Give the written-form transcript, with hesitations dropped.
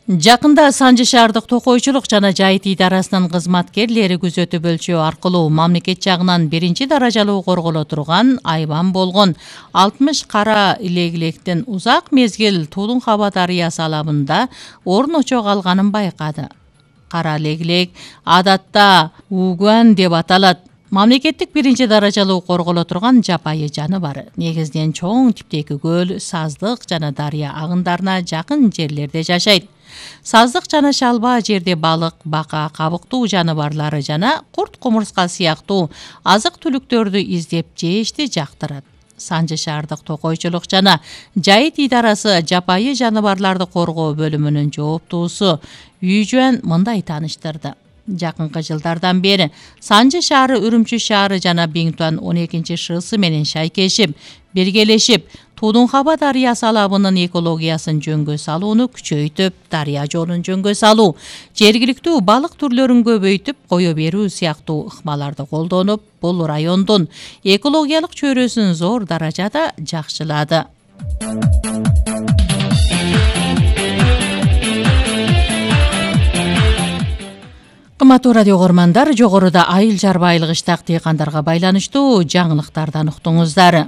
Жакында Санжы шаардык токойчулук жана жайыт идарасынын кызматкерлери күзөтүп өлчөө аркылуу мамлекет жагынан 1-даражалуу корголо турган айбан болгон 60 кара легилектин узак мезгил Тулун Хаба дарыясы алабында орун очо калганын байкады. Кара легилек адатта угуан деп аталат. Мамлекеттик 1-даражалуу корголо турган жапайы жаныбар. Негизинен чоң типтеги көл, саздык жана дарыя агындарына жакын жерлерде жашайт. Саздык жана шалба жерде балык, бака, кабыктуу жаныбарлары жана курт кумурска сыяктуу азык түлүктөрдү издеп жешти жактырат. Санжы шаардык токойчулук жана жайыт идарасы жапайы жаныбарларды коргоо бөлүмүнүн жооптуусу Үйжөн мындай тааныштырды. Жакынкы жылдардан бери Санжы шаары Үрүмчү шаары жана Биңтуан 12-ШС менен шайкешип, биргелешип, Тулун Хаба дарыясы алабынын экологиясын жөнгө салууну күчөйтүп, дарыя жолун жөнгө салуу, жергиликтүү балык түрлөрүн көбөйтүп кое берүү сыяктуу ыкмаларды колдонуп, бул райондун экологиялык чөйрөсүн зор даражада жакшылады. Кымбаттуу радио угармандар, жогоруда айыл жарбайлык иштак дыйкандарга байланыштуу жаңылыктардан уктуңуздар.